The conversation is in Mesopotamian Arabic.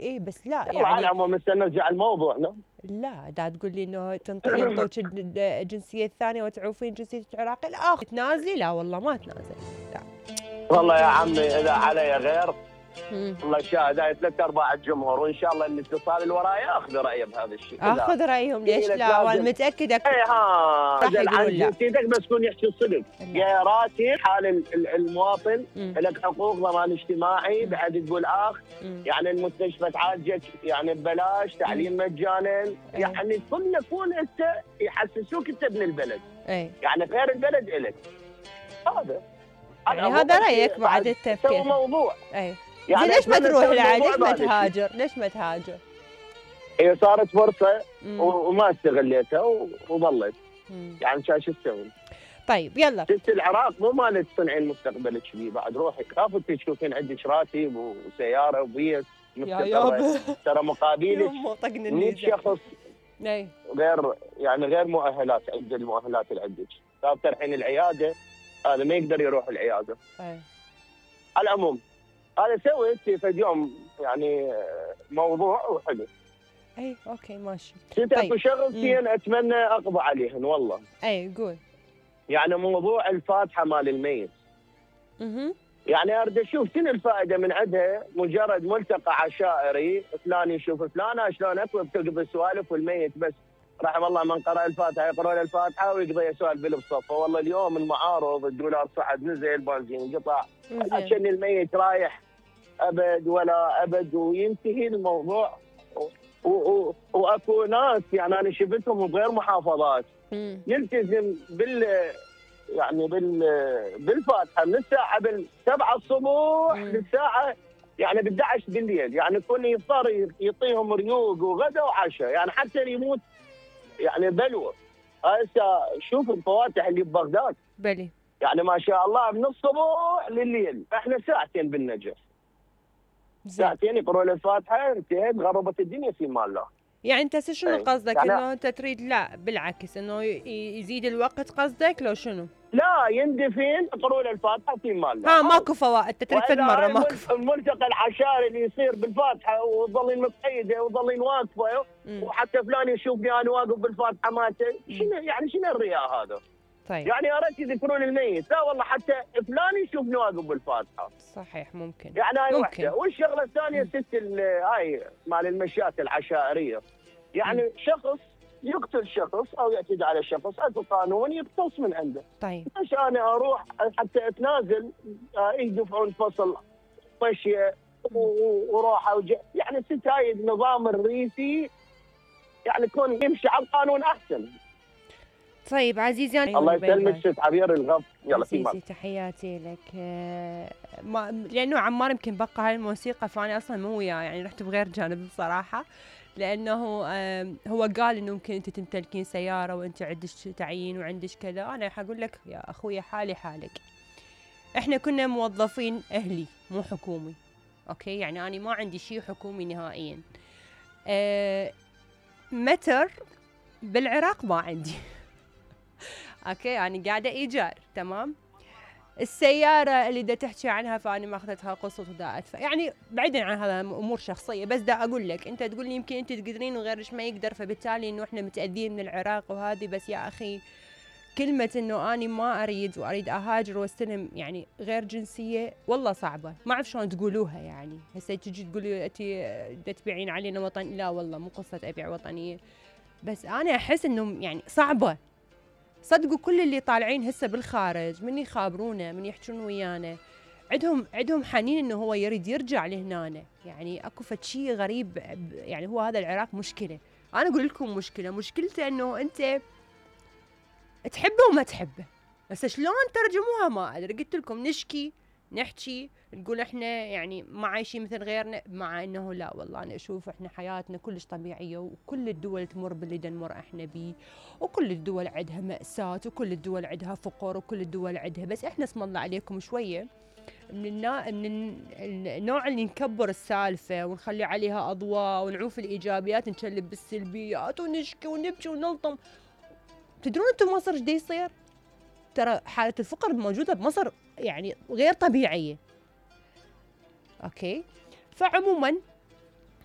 اي بس لا يعني على العموم هسه نرجع الموضوع. لا دا تقول لي انه ينطوك الجنسيه الثانيه وتعوفين جنسيتك العراقيه، لا تنازلي، لا والله ما تنازل، لا والله يا عمي اذا علي غير الله شاهد، هاي 3/4 الجمهور، وان شاء الله الاتصال اللي وراي اخذ رايه بهذا الشيء. اخذ رايهم ليش لا، وانا متاكده راح يقولون لا. جنسيتك بس كون يحكي الصدق، يا راسي حال المواطن لك حقوق، ضمان اجتماعي، بعد تقول اخ يعني المستشفى تعالجك يعني ببلاش، تعليم مجانا، يعني كنا كون انت يحسسوك انت ابن البلد، يعني غير البلد الك. هذا يعني هذا رايك بعد التفكير موضوع. يعني ليش ما تروح لعاد؟ ليش ما تهاجر؟ ليش ما تهاجر؟ هي صارت فرصة وما استغليتها وظلت. يعني شو تسوي؟ طيب يلا. ست العراق مو مالت تصنعين مستقبلك بيه، بعد روحي كافة تشوفين عندك راتب وسيارة وبيت مستقرة، ترى مقابلك 100 شخص غير يعني غير مؤهلات عند المؤهلات اللي عندك. صار ترحين العيادة هذا ما يقدر يروح العيادة. على العموم هذا سويت في اليوم يعني موضوع وحلو. اوكي ماشي. اكو شغلتين اتمنى اقضي عليهن والله. قول. يعني موضوع الفاتحه مال الميت. يعني اريد اشوف شنو الفائده من عندها، مجرد ملتقى عشائري، فلان يشوف فلانه شلون اكو بتقضي سوالف، والميت بس رحم الله من قرأ الفاتحه يقرأ الفاتحه ويقضي يسولف بالبصفه. والله اليوم المعارض الدولار صعد نزل، بنزين قطع، عشان الميت رايح ابد ولا ابد وينتهي الموضوع. واكو ناس يعني انا شفتهم بغير محافظات يلتزم بالفاتحه من الساعه 7 الصبح للساعه يعني 11 بالليل، يعني كل يفطر يعطيهم ريوق وغدا وعشاء، يعني حتى يموت يعني بلوه. هسه شوف الفواتح اللي ببغداد بلي يعني ما شاء الله من الصبح لليل، احنا ساعتين بالنجف، ساعتين يقرؤون الفاتحه انتهت غربت الدنيا في مال الله. يعني انت شنو قصدك؟ يعني انه انت تريد لا بالعكس انه يزيد الوقت قصدك لو شنو؟ لا يندفن يقرؤون الفاتحه في مال الله. ماكو فوائد، انت تريد فد مره ماكو. الملتقى العشائري اللي يصير بالفاتحه وتظلين مقيده وتظلين واقفه وحتى فلان يشوفني انا واقف بالفاتحه مالته، شنو يعني شنو الرياء هذا؟ طيب يعني يا ريت يذكرون الميت، لا والله حتى فلان يشوفني واقف بالفاتحه. صحيح ممكن. يعني هاي وحده، والشغله الثانيه ست هاي مال المشيات العشائريه، يعني شخص يقتل شخص او يعتدي على شخص اكو قانون يقتص من عنده. طيب ليش انا اروح حتى اتنازل يدفعون فصل طشيه وروحه يعني ست هاي النظام الرئيسي يعني كون يمشي على القانون احسن. طيب عزيزي الله يسلمك ست عبير الغف. يلا عزيزي تحياتي لك. لانه عمار يمكن بقى هاي الموسيقى فانا اصلا مو وياه، يعني رحت بغير جانب بصراحه، لانه هو قال انه ممكن انت تمتلكين سياره وانت عندك تعيين وعندك كذا. انا حقول لك يا اخوي حالي حالك، احنا كنا موظفين اهلي مو حكومي، اوكي؟ يعني انا ما عندي شيء حكومي نهائيا. متر بالعراق ما عندي اوكي، يعني قاعده ايجار، تمام؟ السياره اللي دا تحكي عنها فاني ما اخذتها قسط ودا ادفع، يعني بعيدا عن هذا امور شخصيه، بس دا اقول لك انت تقول لي يمكن انت تقدرين وغيرش ما يقدر، فبالتالي انه احنا متاذين من العراق وهذه. بس يا اخي كلمه انه اني ما اريد واريد اهاجر واستلم يعني غير جنسيه والله صعبه، ما اعرف شلون تقولوها. يعني هسه تجي تقولي انت دا تبيعين علينا وطن، لا والله مو قصه ابيع وطنيه، بس انا احس انه يعني صعبه. صدقوا كل اللي طالعين هسه بالخارج من يخابرونا من يحجون ويانا عندهم حنين انه هو يريد يرجع لهنا. يعني اكو فد شيء غريب، يعني هو هذا العراق مشكله. انا اقول لكم مشكلته انه انت تحبه وما تحبه. بس شلون ترجموها ما ادري. قلت لكم نشكي نحكي نقول احنا يعني ما عايشين مثل غيرنا، مع انه لا والله انا اشوف احنا حياتنا كلش طبيعيه، وكل الدول تمر باللي نمر احنا بيه، وكل الدول عندها مأساة، وكل الدول عندها فقر، وكل الدول عندها، بس احنا اسم الله عليكم شويه من النوع اللي نكبر السالفه ونخلي عليها اضواء ونعوف الايجابيات نشلب بالسلبيات ونشكي ونبكي ونلطم. تدرون انتم مصر ايش يصير؟ ترى حالة الفقر موجودة بمصر يعني غير طبيعية. اوكي؟ فعموما